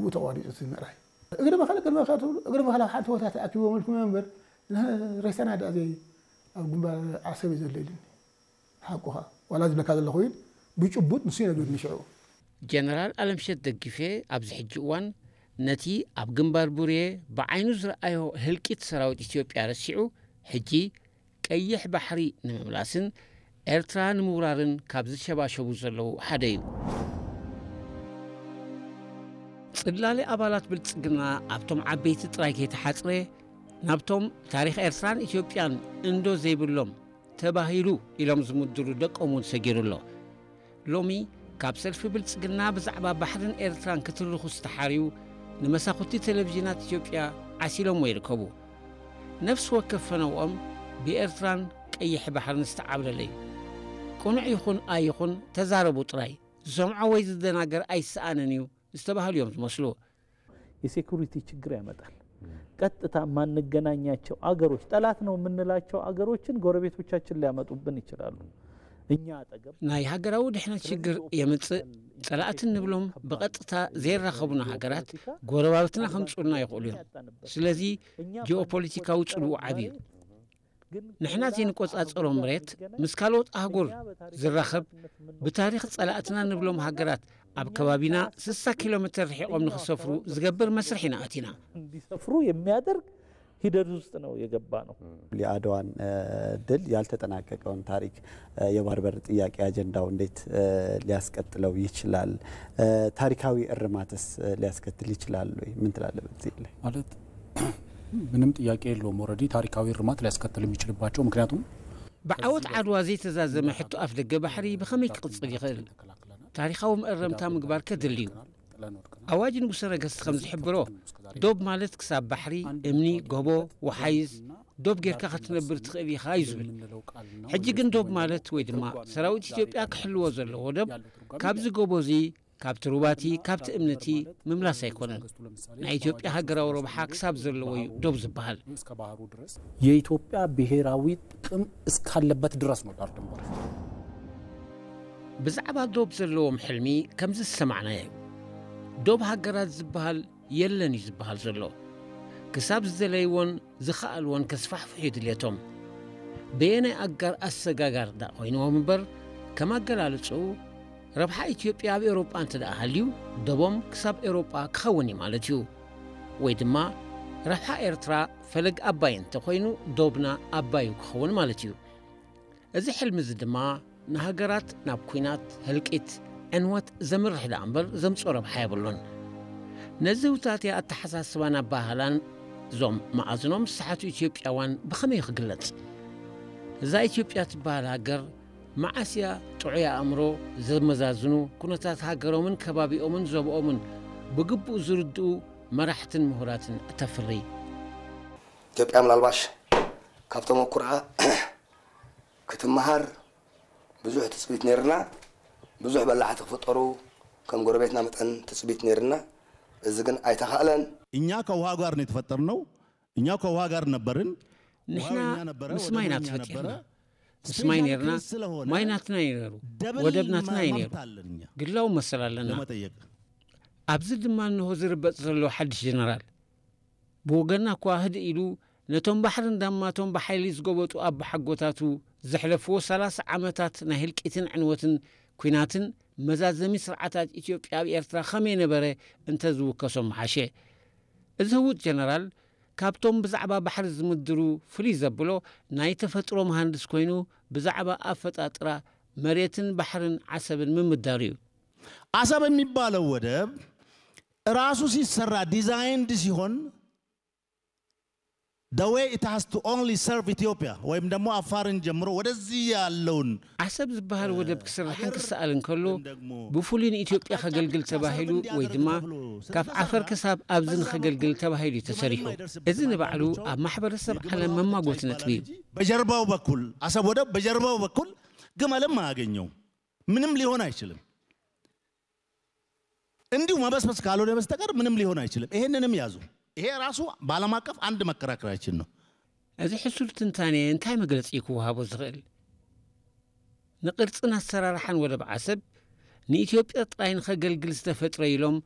ብኡ ተቋሪፁ እቲ ምዕራይ። እግሪ መኸለ ቅድመ ከትብሉ እግሪ መኸለ ሓደ ቦታ ተኣኪቦም ኢልኩም እዮም እምበር፣ ሬሳና ደኣ ዘይ ኣብ ግንባር ዓሰብ እዩ ዘሎ ኢሉኒ። ሓቁኻ ዋላ ዝብለካ ዘለኹ ኢል ብጭቡጥ ንሱ ይነግርኒ ሽዑ። ጀነራል ኣለምሸት ደግፌ ኣብዚ ሕጂ እዋን ነቲ ኣብ ግንባር ቡሬ ብዓይኑ ዝረኣዮ ህልቂት ሰራዊት ኢትዮጵያ ረሲዑ፣ ሕጂ ቀይሕ ባሕሪ ንምምላስን ኤርትራ ንምውራርን ካብ ዝሸባሸቡ ዘለዉ ሓደ እዩ። ጽላለ ኣባላት ብልጽግና ኣብቶም ዓበይቲ ጥራይ ከይተሓጽረ፣ ናብቶም ታሪኽ ኤርትራን ኢትዮጵያን እንዶ ዘይብሎም ተባሂሉ ኢሎም ዝምድሩ ደቆም እውን ሰጊሩ ኣሎ። ሎሚ ካብ ሰልፊ ብልጽግና ብዛዕባ ባሕርን ኤርትራን ክትርኹ ዝተሓርዩ ንመሳኹቲ ቴሌቪዥናት ኢትዮጵያ ዓሲሎምዎ ይርከቡ። ነፍሲ ወከፍ ፈነውኦም ብኤርትራን ቀይሕ ባሕርን ዝተዓብለለ እዩ። ቅኑዕ ይኹን ኣይኹን ተዛረቡ ጥራይ፣ ዝሰምዖ ወይ ዝደናገር ኣይሰኣንን እዩ ዝተባህሉ እዮም ዝመስሉ። የሴኩሪቲ ችግር ያመጣል። ቀጥታ የማንገናኛቸው አገሮች፣ ጠላት ነው የምንላቸው አገሮችን ጎረቤቶቻችን ሊያመጡብን ይችላሉ። እኛ አጠገብ ናይ ሃገራዊ ድሕነት ሽግር የምጽእ። ጸላእቲ እንብሎም ብቐጥታ ዘይራኸቡና ሃገራት ጎረባብትና ከምጽኡልና ይኽእሉ እዮም። ስለዚ ጂኦፖለቲካዊ ጽልዉ ዓቢ እዩ። ንሕና ዘይንቆጻጸሮ መሬት ምስ ካልኦት ኣህጉር ዝራኸብ፣ ብታሪኽ ጸላእትና ንብሎም ሃገራት ኣብ ከባቢና ስሳ ኪሎ ሜተር ርሒቖም ንኽሰፍሩ ዝገብር መስርሕ ኢና ኣቲና። እንዲሰፍሩ የሚያደርግ ሂደት ውስጥ ነው የገባ ነው። የአድዋን ድል ያልተጠናቀቀውን ታሪክ፣ የባህር በር ጥያቄ አጀንዳው እንዴት ሊያስቀጥለው ይችላል? ታሪካዊ እርማትስ ሊያስከትል ይችላል ወይ? ምን ትላለህ በዚህ ላይ? ማለት ምንም ጥያቄ የለውም። ኦልሬዲ ታሪካዊ እርማት ሊያስከትል የሚችልባቸው፣ ምክንያቱም ብዓወት ዓድዋ ዘይተዛዘመ ሕቶ ኣፍ ደገ ባሕሪ ብኸመይ ክቕጽል ይኽእል? ታሪኻዊ መእረምታ ምግባር ከድሊ እዩ። ኣዋጅ ንጉሰ ነገስት ከም ዝሕብሮ፣ ዶብ ማለት ክሳብ ባሕሪ፣ እምኒ፣ ጎቦ፣ ወሓይዝ፣ ዶብ ጌርካ ክትነብር ትኽእል ኢኻ እዩ ዝብል። ሕጂ ግን ዶብ ማለት ወይ ድማ ሰራዊት ኢትዮጵያ ክሕልዎ ዘለዎ ዶብ ካብዚ ጎቦ እዚ፣ ካብቲ ሩባቲ፣ ካብቲ እምንቲ ምምላስ ኣይኮነን። ናይ ኢትዮጵያ ሃገራዊ ረብሓ ክሳብ ዘለዎ እዩ ዶብ ዝበሃል። የኢትዮጵያ ብሔራዊ ጥቅም እስካለበት ድረስ ነው ዳር ድንበር። ብዛዕባ ዶብ ዘለዎም ሕልሚ ከምዚ ዝሰማዕናዮ እዩ። ዶብ ሃገራት ዝበሃል የለን እዩ ዝበሃል ዘሎ። ክሳብ ዝደለይዎን ዝኸኣልዎን ከስፋሕፍሑ እዩ ድልየቶም። በየናይ ኣጋር ኣሰጋጋር ደኣ ኮይንዎም እምበር፣ ከም ኣገላልጽኡ፣ ረብሓ ኢትዮጵያ ኣብ ኤውሮጳ እንተ ደኣ ሃልዩ፣ ዶቦም ክሳብ ኤውሮጳ ክኸውን እዩ ማለት እዩ። ወይ ድማ፣ ረብሓ ኤርትራ ፈለግ ኣባይ እንተ ኮይኑ፣ ዶብና ኣባዩ ክኸውን ማለት እዩ። እዚ ሕልሚ እዚ ድማ ንሃገራት ናብ ኲናት፣ ህልቂት፣ ዕንወት ዘምርሕ ደኣ እምበር ዘምጽኦ ረብሓ የብሉን። ነዚ ውታትያ ኣተሓሳስባን ኣበሃህላን እዞም መኣዝኖም ዝሰሓቱ ኢትዮጵያውያን ብኸመይ ክግለጽ? እዛ ኢትዮጵያ ትበሃል ሃገር መዓስ እያ ጥዑይ ኣእምሮ ዘመዛዝኑ፣ ኩነታት ሃገሮምን ከባቢኦምን ዞባኦምን ብግቡእ ዝርድኡ መራሕትን ምሁራትን እተፍሪ? ኢትዮጵያ ምናልባሽ ካብ ተመኩርኣ ክትመሃር ብዙሕ ትፅቢት ነይርና። ብዙሕ በላዕቲ ክፍጠሩ ከም ጎረቤትና መጠን ትፅቢት ነይርና። እዚ ግን ኣይተኻእለን። እኛ ከውሃ ጋር ነው የተፈጠርነው። እኛ ከውሃ ጋር ነበርን። ንሕና ምስ ማይ ኢና ተፈጢርና። ምስ ማይ ነርና። ማይ ናትና እዩ ነሩ። ወደብ ናትና እዩ ነሩ። ግላዊ መሰል ኣለና። ኣብዚ ድማ እንሆ ዝርበጽ ዘሎ ሓድሽ ጀነራል። ብወገንና እኳ ህድእ ኢሉ ነቶም ባሕርን ዳማቶም ብሓይሊ ዝጎበጡ ኣቦሓጎታቱ ዘሕለፍዎ ሰላሳ ዓመታት ናይ ህልቂትን ዕንወትን ኲናትን መዛዘሚ ስርዓታት ኢትዮጵያ ኣብ ኤርትራ ከመይ ነበረ እንተዝውከሶም ምሓሸ። እዚ ህውት ጀነራል ካብቶም ብዛዕባ ባሕሪ ዝምድሩ ፍልይ ዘብሎ ናይ ተፈጥሮ መሃንድስ ኮይኑ ብዛዕባ ኣፈጣጥራ መሬትን ባሕርን ዓሰብን ምምዳሩ እዩ። አሰብ የሚባለው ወደብ ራሱ ሲሰራ ዲዛይንድ ሲሆን the way it has to only serve Ethiopia ወይም ደግሞ አፋርን ጀምሮ ወደዚህ ያለውን ዓሰብ ዝበሃል ወደብ ክስራሕን ክሰኣልን ከሎ ብፍሉይ ንኢትዮጵያ ከገልግል ተባሂሉ ወይ ድማ ካብ ዓፈር ክሳብ ኣብዚ ንኸገልግል ተባሂሉ እዩ ተሰሪሑ። እዚ ንባዕሉ ኣብ ማሕበረሰብ ዓለም መማጎቲ ነጥቢ እዩ። በጀርባው በኩል አሰብ ወደብ በጀርባው በኩል ግመልም አያገኘውም። ምንም ሊሆን አይችልም። እንዲሁ መበስበስ ካልሆነ በስተቀር ምንም ሊሆን አይችልም። ይሄንንም ያዙ። ይሄ ራሱ በዓለም አቀፍ አንድ መከራከሪያችን ነው። እዚ ሕሱር ትንታኔ እንታይ መግለጺ ክወሃቦ ዝኽእል? ንቕርጽን ኣሰራርሓን ወደብ ዓሰብ ንኢትዮጵያ ጥራይ ንኸገልግል ዝተፈጥረ ኢሎም